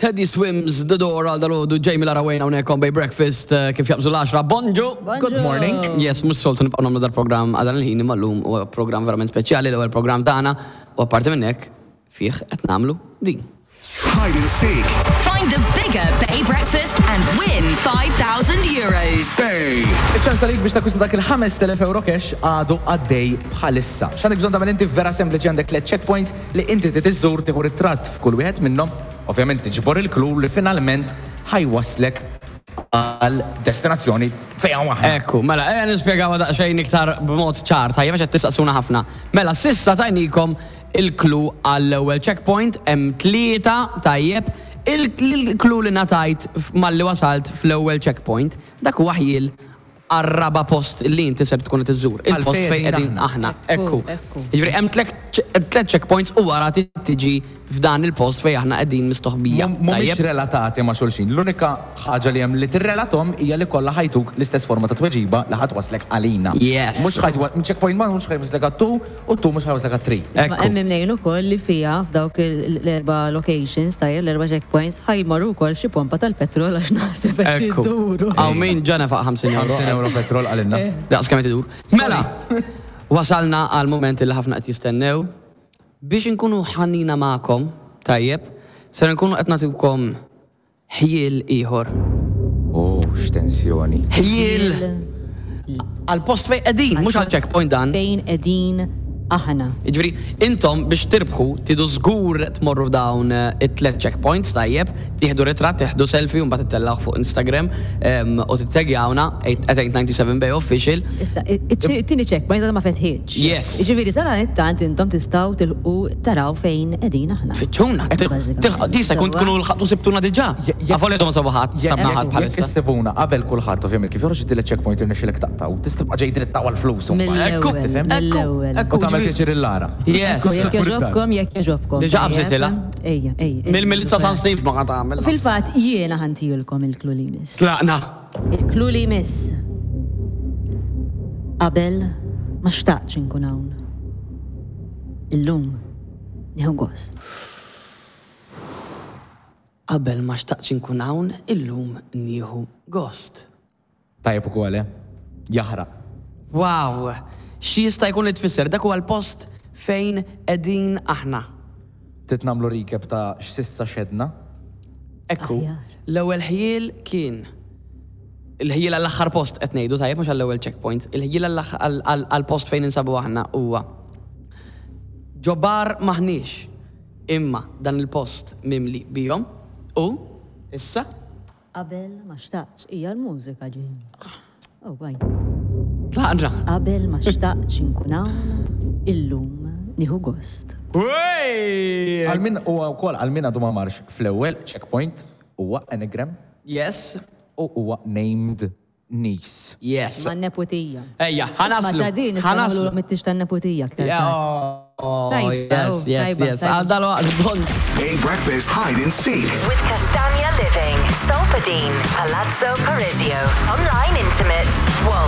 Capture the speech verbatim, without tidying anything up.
Teddy Swims, The Door għal dal-għodu, Jamie Lara Wayne hawnhekk on Bay Breakfast eh, kif jaqbżu l-għaxra. Bonġu! Good morning. Yes, mhux soltu nibqgħu nagħmlu dal-programm għal dan il-ħin imma llum huwa programm verament speċjali, l-ewwel programm tagħna u apparti minn hekk fih qed nagħmlu din. Hide and seek. Find the bigger Bay Breakfast and win five thousand euros. Bay. Iċ-ċans għalik biex takkwista dak il-ħamest elef euro cash għadu għaddej bħalissa. X'għandek bżonn tagħmel inti vera sempliċi: għandek tliet checkpoints li inti trid iżżur, tieħu ritratt f'kull wieħed minnhom, ovvjament tiġbor il-clue li finalment ħa jwasslek għal destinazzjoni fejn hawn aħna. Ekku, mela, ejja nispjegaw daqsxejn iktar b'mod ċar, tajjeb, għax qed tistaqsuna ħafna. Mela, s'issa tajnikom il-clue għall-ewwel checkpoint, hemm tlieta, tajjeb, il-clue li ngħatajt malli wasalt fl-ewwel checkpoint, dak huwa ħjiel għar-raba post li inti ser tkun qed iżżur. Il-post Għalfejn fejn qegħdin aħna. Ekku. Ekku. Jiġifieri hemm tliet checkpoints u wara tiġi f'dan il-post fejn aħna qegħdin mistoħbija. Mhumiex Tajjeb? relatati ma' xulxin. L-unika ħaġa li hemm li tirrelatom hija li kollha ħa jtuk l-istess forma ta' tweġiba li ħa twasslek għalina. Yes. Mhux ħa jwa- checkpoint one mhux ħa jwasslek għat-two u two mhux ħa jwasslek għat-three. Isma' Ekku. hemm imnejn ukoll li fija f'dawk il- l-erba' locations, tajjeb, l-erba' checkpoints, ħa jmorru wkoll xi pompa tal-petrol għax naħseb qed Ekku. iduru. Għaw min ġana faq ħamsin euro. ħamsin euro petrol għalinna. Daqs kemm qed idur. Mela, wasalna għal moment li ħafna qed jistennew. Biex inkunu ħanina magħkom, tajjeb, ser nkunu qed nagħtikom ħjiel ieħor. Oh, x'tensjoni. Ħjiel għal post fejn qegħdin, mhux għal checkpoint dan. Fejn qegħdin aħna. Jiġifieri, intom biex tirbħu, tridu żgur tmorru f'dawn eh, it-tlet checkpoints, tajjeb, tieħdu ritratt, tieħdu selfie u mbagħad ittellgħu fuq Instagram em, u tittegjawna at eight ninety-seven Bay Official. Issa, it-tieni checkpoint għadha ma fetħitx. Yes. Jiġifieri sadanittant intom tistgħu tilqu taraw fejn qegħdin aħna. Fittxuna, Bażikament. tista' jkun tkunu lħaqtu sibtuna diġà. Je- je- Avolja ma sabu ħadd, sabna ħadd Jekk bħalissa. issibuna qabel kulħadd, ovvjament, kif joħroġ it checkpoint irnexxilek taqtaw, tista' tibqa' ġej dritt għal flus. Mill-ewwel. Tifhem? Mill-ewwel. Ekku, U tagħmel pjaċir il-Lara. Yes. Ekku, jekk jogħġobkom, jekk jogħġobkom. Diġà qabżitilha. Ejja, ejja. Mill-Milizza San Steve ma qed tagħmel. Fil-fatt jiena ħa ntihielkom il-clue li jmiss. Tlaqna. Il-clue li jmiss. Qabel ma xtaqtx inkun hawn. Illum nieħu gost. Qabel ma xtaqtx inkun hawn, illum nieħu gost. Tajjeb ukoll, eh? Jaħraq. Wow! Xi jista' jkun li tfisser dak huwa l-post fejn qegħdin aħna? Trid nagħmlu recap ta' x'sissa xedna? Ekku, Aħjar. l-ewwel ħjiel kien il-ħjiel għall-aħħar post qed ngħidu, tajjeb, mhux għall-ewwel checkpoint. Il-ħjiel għall- għall- għall-post fejn insabu aħna huwa: ġo bar m'aħniex, imma dan il-post mimli bihom u issa Qabel ma xtaqtx, hija l-mużika ġej. Oh, baj. Tlaqna. Qabel ma xtaqtx inkun hawn, illum nieħu gost. Wey! Għal min huwa wkoll għal min għadu ma marx fl-ewwel checkpoint, huwa anagram Yes, u huwa named niece. yes. Ma' neputija. Ejja, ħa naslu. Ma ta' din nistgħu Ħa naslu. nagħmlu mit-tix tan-neputija aktar Yeah, tard. oh, Tajba, yes, oh, yes, tajba, yes. tajba. Għal dal-waqt, bon. Bay Breakfast Hide and Seek. With Castagna Living, Solpadeine, Palazzo Parisio, Online Intimates, Wolt.